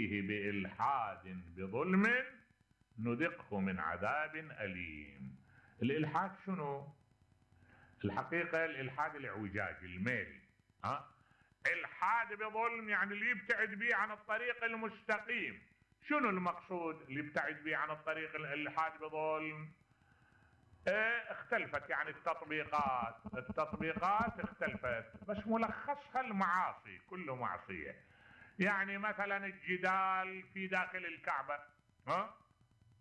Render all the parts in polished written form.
فيه بإلحاد بظلم نذقه من عذاب أليم. الإلحاد شنو؟ الحقيقة الإلحاد الاعوجاج، الميل. إلحاد بظلم يعني اللي يبتعد به عن الطريق المستقيم. شنو المقصود اللي يبتعد به عن الطريق الإلحاد بظلم؟ اختلفت يعني التطبيقات اختلفت، بس ملخصها المعاصي، كله معصية. يعني مثلا الجدال في داخل الكعبة،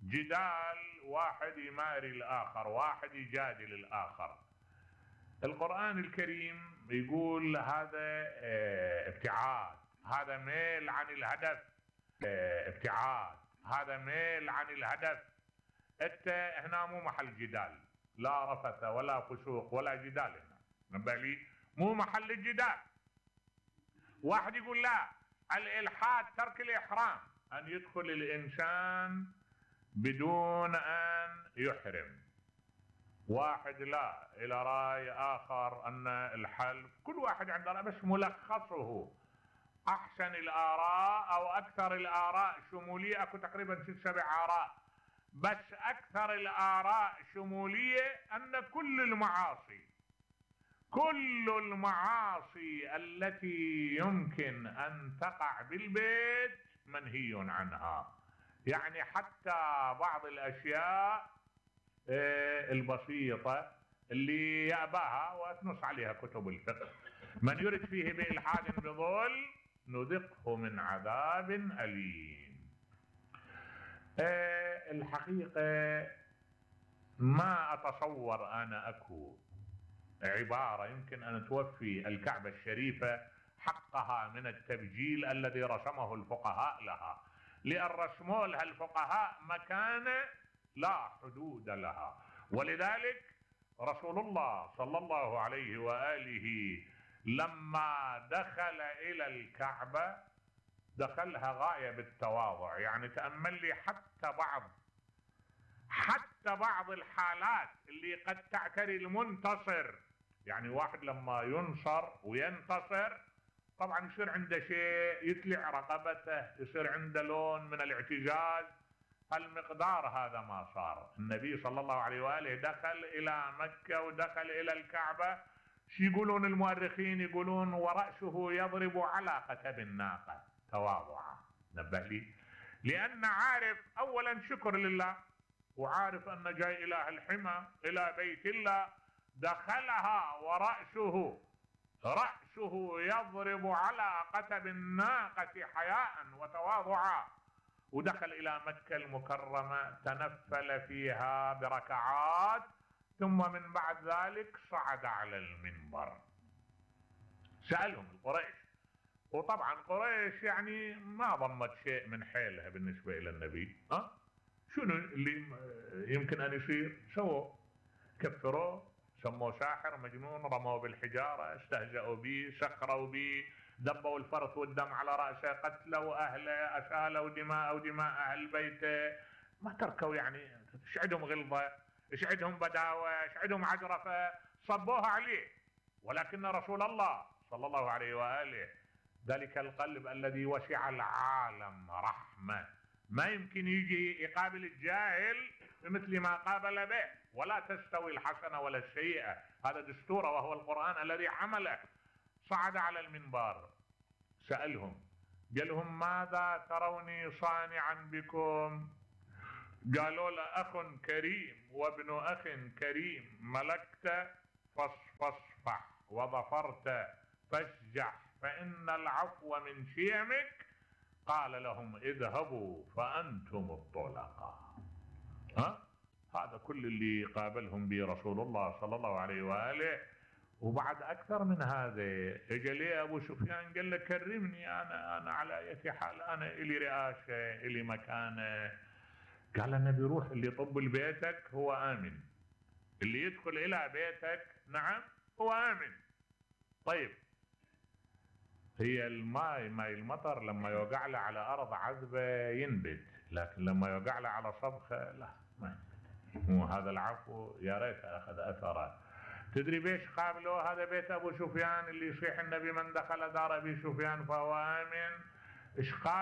جدال، واحد يماري الآخر، واحد يجادل الآخر. القرآن الكريم يقول هذا ابتعاد، هذا ميل عن الهدف. ابتعاد، هذا ميل عن الهدف. انت هنا مو محل جدال، لا رفث ولا فسوق ولا جدال هنا، نبالي مو محل الجدال. واحد يقول لا، الإلحاد ترك الإحرام، أن يدخل الإنسان بدون أن يحرم. واحد لا، إلى رأي آخر أن الحلف، كل واحد عنده رأي، بس ملخصه أحسن الآراء أو أكثر الآراء شمولية، أكو تقريبا 6-7 آراء، بس أكثر الآراء شمولية أن كل المعاصي التي يمكن أن تقع بالبيت منهي عنها. يعني حتى بعض الأشياء البسيطة اللي يأباها وتنص عليها كتب الفقه، من يرد فيه بإلحاد بظلم نذقه من عذاب أليم. الحقيقة ما أتصور أنا أكو عبارة يمكن أن توفي الكعبة الشريفة حقها من التبجيل الذي رسمه الفقهاء لها، لأن رسموا لها الفقهاء مكانة لا حدود لها. ولذلك رسول الله صلى الله عليه وآله لما دخل إلى الكعبة دخلها غاية بالتواضع. يعني تأمل لي حتى بعض الحالات اللي قد تعتري المنتصر، يعني واحد لما ينصر وينتصر طبعا يصير عنده شيء، يتلع رقبته، يصير عنده لون من الاعتزاز. المقدار هذا ما صار. النبي صلى الله عليه وآله دخل إلى مكة ودخل إلى الكعبة، شو يقولون المؤرخين؟ يقولون ورأسه يضرب على قتب الناقة تواضعا. نبه لي، لأن عارف أولا شكر لله، وعارف أن جاي إله الحمى إلى بيت الله، دخلها ورأسه يضرب على قتب الناقة حياء وتواضعا، ودخل إلى مكة المكرمة تنفل فيها بركعات، ثم من بعد ذلك صعد على المنبر. سألهم القريش، وطبعا قريش يعني ما ضمت شيء من حيلها بالنسبة إلى النبي. شنو اللي يمكن أن يصير؟ سووا كفروه، سموه ساحر مجنون، رموه بالحجارة، استهزأوا به، سخروا به، دبوا الفرث والدم على رأسه، قتلوا أهله، أسالوا دماء أهل بيته، ما تركوا. يعني ايش عندهم غلظة، ايش عندهم بداوة، ايش عندهم عجرفة، صبوها عليه. ولكن رسول الله صلى الله عليه وآله ذلك القلب الذي وسع العالم رحمة، ما يمكن يجي يقابل الجاهل مثل ما قابل به. ولا تستوي الحسنة ولا السيئة، هذا دستوره وهو القرآن الذي حمله. صعد على المنبر، سألهم، قال لهم ماذا تروني صانعا بكم؟ قالوا له أخ كريم وابن أخ كريم، ملكت فاصفح وظفرت فاشجح فإن العفو من شيمك. قال لهم اذهبوا فأنتم الطلقاء. هذا كل اللي قابلهم به رسول الله صلى الله عليه وآله. وبعد أكثر من هذا اجى لي أبو سفيان قال له كرمني، أنا على أي حال، أنا إلي رئاسة، إلي مكانة. قال النبي روح، اللي يطب لبيتك هو آمن، اللي يدخل إلى بيتك نعم هو آمن. طيب، هي ماي المطر لما يوقع له على أرض عذبة ينبت، لكن لما يوقع له على صبخة لا، ما مو هذا العفو يا ريت أخذ أثره. تدري بيش قابلوه؟ هذا بيت أبو سفيان اللي يصيح النبي من دخل دار أبي سفيان فهو آمن. إيش قابل